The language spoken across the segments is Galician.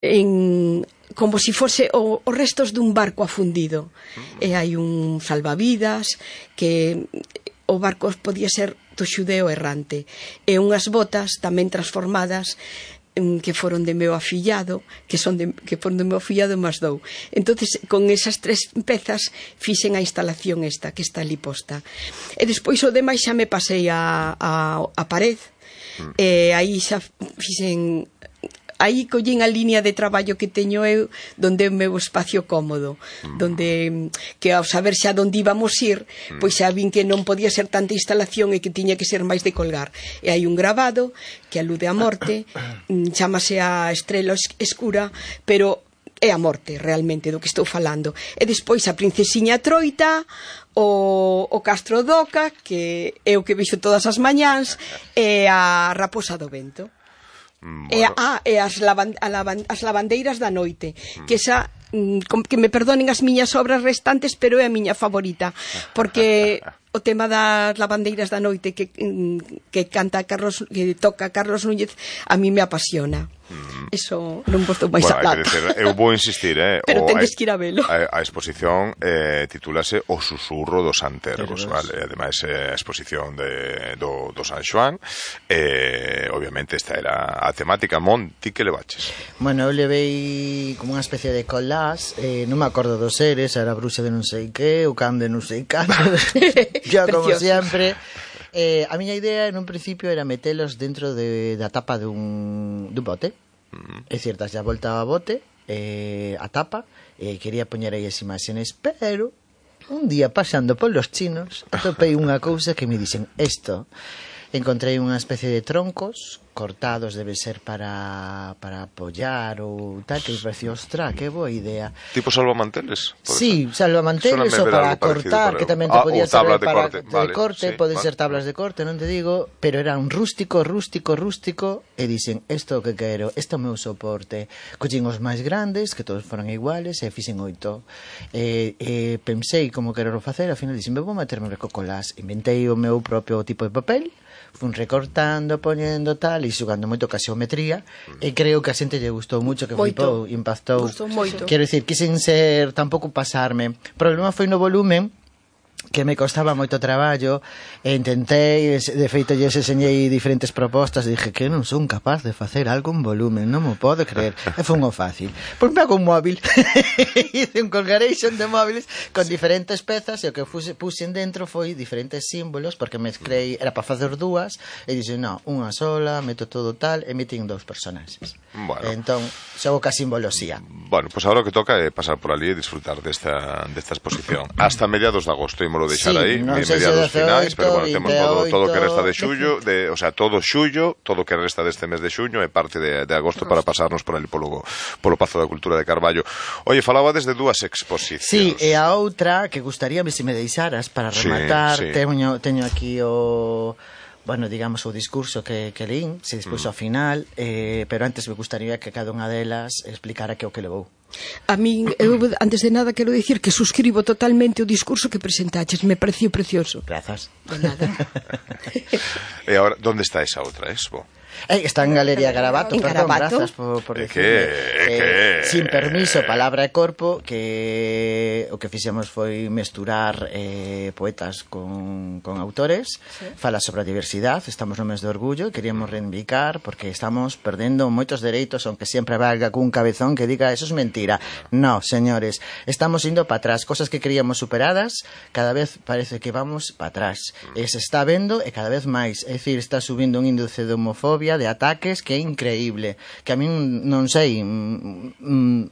como se fose os restos dun barco afundido, e hai un salvavidas que o barco podía ser do xudeo errante, e unhas botas tamén transformadas que foron de meu afillado, que foron de meu afillado máis dou. Entonces, con esas 3 pezas fixen a instalación esta, que está ali posta. E despois o demais xa me pasei a pared, e aí xa fixen... Aí collín a línea de traballo que teño eu, donde é o meu espacio cómodo, donde, que ao saber xa onde íbamos ir, pois xa vin que non podía ser tanta instalación e que tiña que ser máis de colgar. E hai un grabado que alude á morte, chámase a Estrela Escura, pero é a morte realmente do que estou falando. E despois a Princesiña Troita, o Castro Doca, que é o que vexo todas as mañáns, e a Raposa do Vento. Bueno. E as lavandeiras da noite, que esa, que me perdonen as miñas obras restantes, pero é a miña favorita, porque o tema das lavandeiras da noite que toca Carlos Núñez, a mí me apasiona. Eso non vos dou máis a plata. Eu vou insistir, pero tendes que ir a velo. A exposición titúlase O Susurro dos Antergos, vale? Ademais, a exposición do San Xoán, obviamente esta era a temática. Monti, que levaches? Bueno, eu levei como unha especie de collage, non me acordo dos seres, era a bruxa de non sei que, o can de non sei canto. Yo, como sempre... a miña idea en un principio era metelos dentro da tapa dun bote, é dicir, das a volta ao bote, a tapa, quería poñer aí as imaxes, pero un día pasando polos chinos atopei unha cousa que me dicen isto. Encontrei unha especie de troncos cortados, debe ser para apoyar ou tal, que me pareció, ostra, que boa idea. Tipo salvamanteles? Sí, salvamanteles ou para cortar, que tamén te podía servir para de corte, pode ser tablas de corte, non te digo, pero era un rústico, e dicen, isto que quero, isto é o meu soporte. Collín os máis grandes, que todos foran iguales, e fixen 8. Pensei como quero facer, ao final dicen, vou meterme en recocolás, inventei o meu propio tipo de papel, fun recortando, poñendo tal, e xugando moito ca xeometría, e creo que a xente lle gustou moito, que flipou, impactou. Quero dicir, quixen ser, tampouco pasarme. O problema foi no volumen, que me costaba moito traballo, e intentei, de feito lle enseñei diferentes propostas, e dije que non son capaz de facer algo en volumen, non me podo creer, e foi unha fácil. Pois me hago un móvil, hice un colgaration de móviles con diferentes pezas, e o que puxen dentro foi diferentes símbolos, porque mezclei, era para facer dúas, e dixen, non, unha sola, meto todo tal, e metín 2 personaxes. Bueno. Entón, xogo ca simboloxía. Bueno, pois agora o que toca é pasar por ali e disfrutar desta exposición. Hasta mediados de agosto, ímolo deixar aí, mediados finais, pero bueno, temos todo o que resta de xullo, o sea, todo xullo, todo o que resta deste mes de xuño e parte de agosto para pasarnos por ali polo Pazo da Cultura de Carballo. Oye, falaba desde 2 exposicións. Sí, e a outra que gustaríame se me deixaras para rematar, teño aquí o... bueno, digamos, o discurso que lín, se despois ao final, pero antes me gustaría que cada unha delas explicara que o que levou. A min, eu, antes de nada, quero dicir que suscribo totalmente o discurso que presentaches, me pareció precioso. Grazas. De nada. E agora, onde está esa outra expo? Está en Galería Garabato, perdón, grazas por decirme. Sin permiso, palabra e corpo, que o que fixemos foi mesturar poetas con autores, fala sobre a diversidade, estamos no mes de orgullo e queríamos reivindicar porque estamos perdendo moitos dereitos, aunque sempre valga cun cabezón que diga eso es mentira. No, señores, estamos indo para atrás, cosas que creíamos superadas, cada vez parece que vamos para atrás, e se está vendo e cada vez máis, é dicir, está subindo un índice de homofobia, de ataques, que é increíble, que a min non sei,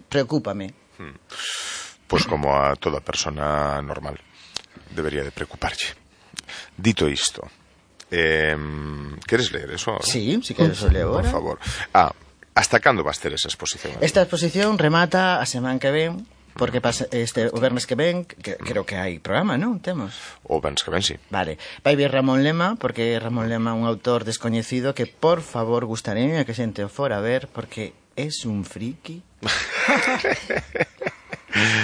preocúpame. Pois como a toda persona normal debería de preocuparlle. Dito isto, queres ler eso? Sí, si queres o leo por favor. Hasta cando vas ter esa exposición? Esta exposición remata a semana que ven, porque o vermes que ven, que creo que hai programa, non? Temos? O vermes que ven, sí. Vale. Vai vir Ramón Lema, porque Ramón Lema é un autor descoñecido que, por favor, gustaría que xente o fora a ver, porque es un friki.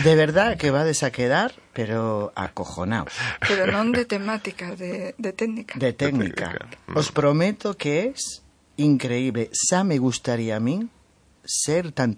De verdad que vades a quedar, pero acojonaos. Pero non de temática, de técnica. De técnica. Os prometo que es increíble. Xa me gustaría a min ser tan